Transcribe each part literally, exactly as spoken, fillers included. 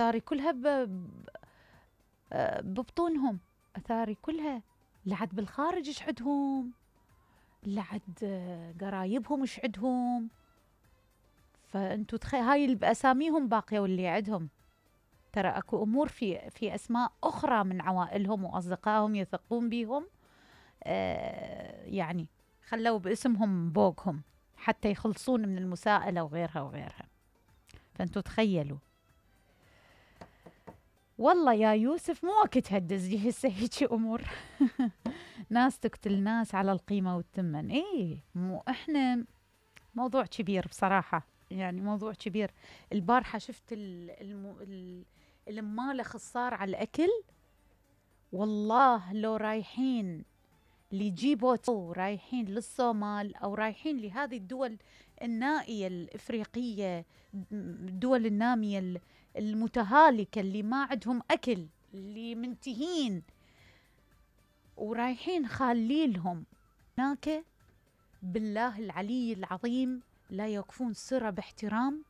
أثاري كلها ب- ببطونهم، أثاري كلها لعد بالخارج إيش عدهم، لعد قرايبهم إيش عدهم. فأنتو تخيل هاي اللي بأساميهم باقية واللي عدهم. ترى أكو أمور في في أسماء أخرى من عوائلهم وأصدقائهم يثقون بيهم، آه يعني خلوا باسمهم بوقهم حتى يخلصون من المساءلة وغيرها وغيرها. فأنتوا تخيلوا. والله يا يوسف مو وقت تهدز لي هسه هيجي أمور. ناس تقتل ناس على القيمة والثمن. إيه مو إحنا موضوع كبير بصراحة، يعني موضوع كبير. البارحة شفت ال الم ال المال خصار على الأكل. والله لو رايحين لجيبوت أو رايحين للصومال أو رايحين لهذه الدول النائية الإفريقية، الدول النامية المتهالكة اللي ما عندهم أكل، اللي منتهين ورايحين خاليلهم هناك، بالله العلي العظيم لا يوقفون سرة باحترام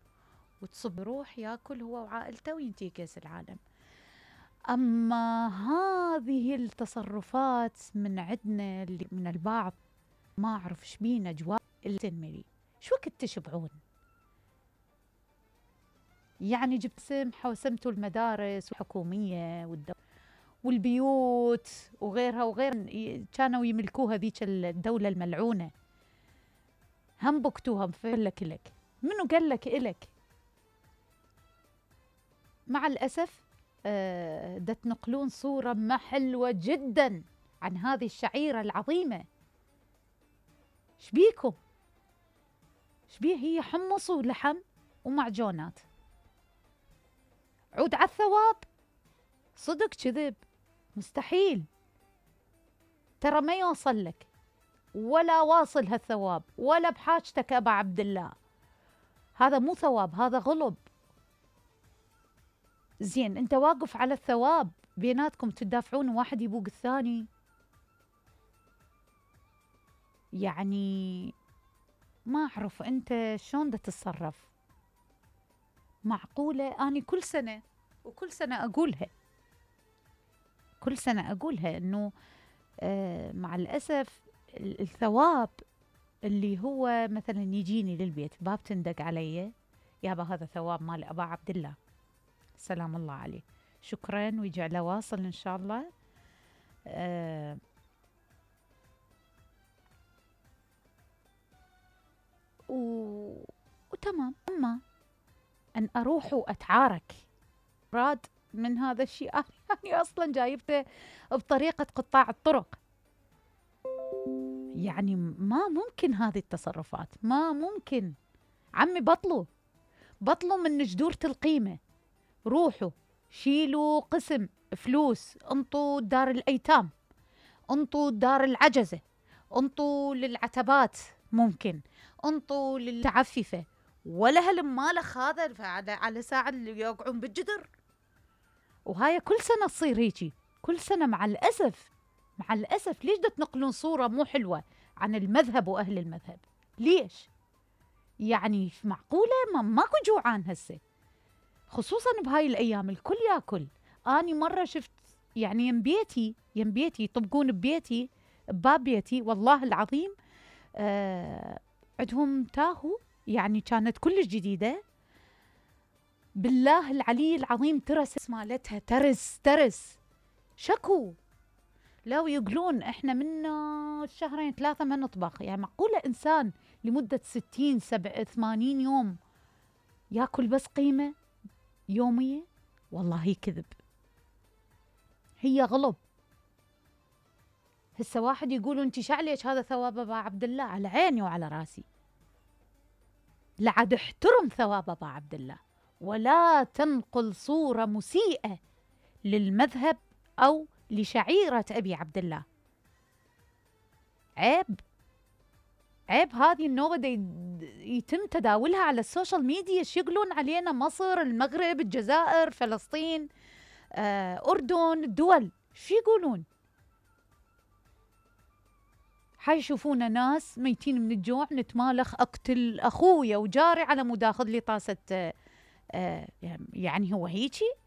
وتصب روح ياكل هو وعائلته وينتهي كأس العالم. أما هذه التصرفات من عندنا اللي من البعض ما أعرف إيش بينا جواب التنمري. شو وقت تشبعون؟ يعني جبت سمحة وسمتوا المدارس الحكومية والدولة والبيوت وغيرها وغير، كانوا يملكوها ذيك الدولة الملعونة، هم بكتوها بفلك لك. منو قال لك إلك؟ مع الأسف آه دا تنقلون صورة ما حلوة جدا عن هذه الشعيرة العظيمة. شبيكم؟ شبيه؟ هي حمص ولحم ومعجونات. عود على الثواب؟ صدق كذب؟ مستحيل. ترى ما يوصل لك ولا واصل هالثواب ولا بحاجتك أبا عبد الله. هذا مو ثواب، هذا غلب. زين انت واقف على الثواب، بيناتكم تدافعون واحد يبوق الثاني. يعني ما أعرف أنت شلون دا تتصرف. معقولة؟ أنا كل سنة وكل سنة أقولها، كل سنة أقولها إنه آه مع الأسف الثواب اللي هو مثلا يجيني للبيت باب تندق علي، يابا هذا ثواب مال أبا عبد الله سلام الله عليه، شكرا ويجعله واصل إن شاء الله. آه و... وتمام. أما أن أروح وأتعارك راد من هذا الشيء، أنا أصلا جايبته بطريقة قطاع الطرق. يعني ما ممكن هذه التصرفات، ما ممكن. عمي بطلوا بطلوا من جدورة القيمة. روحوا شيلوا قسم فلوس، انطوا دار الأيتام، انطوا دار العجزة، انطوا للعتبات، ممكن انطوا للعففة، ولا هالمالخ هذا على على ساعة اللي يوقعون بالجدر. وهاي كل سنة تصير هيجي، كل سنة مع الأسف. مع الأسف ليش دا تنقلون صورة مو حلوة عن المذهب وأهل المذهب؟ ليش؟ يعني معقولة ما ماكو جوعان هسه، خصوصا بهاي الأيام الكل ياكل. أني مرة شفت يعني يم بيتي يم بيتي يطبقون ببيتي بباب بيتي والله العظيم آه عندهم تاهو، يعني كانت كلش جديدة بالله العلي العظيم، ترس مالتها ترس ترس شكو. لو يقولون احنا من شهرين ثلاثة ما نطبخ. يعني معقولة إنسان لمدة ستين سبع ثمانين يوم ياكل بس قيمة يومية؟ والله كذب، هي غلب. هسه واحد يقولوا انت شعليش هذا ثواب ابا عبد الله، على عيني وعلى راسي، لعد احترم ثواب ابا عبد الله، ولا تنقل صورة مسيئة للمذهب أو لشعيرة أبي عبد الله. عيب عيب. هذه النوبة يتم تداولها على السوشيال ميديا. يقولون علينا مصر، المغرب، الجزائر، فلسطين، آه، أردن، الدول شو يقولون؟ حيشوفونا ناس ميتين من الجوع نتمالخ، أقتل أخويا وجاري على مود أخذ لي طاسة آه يعني هو هيجي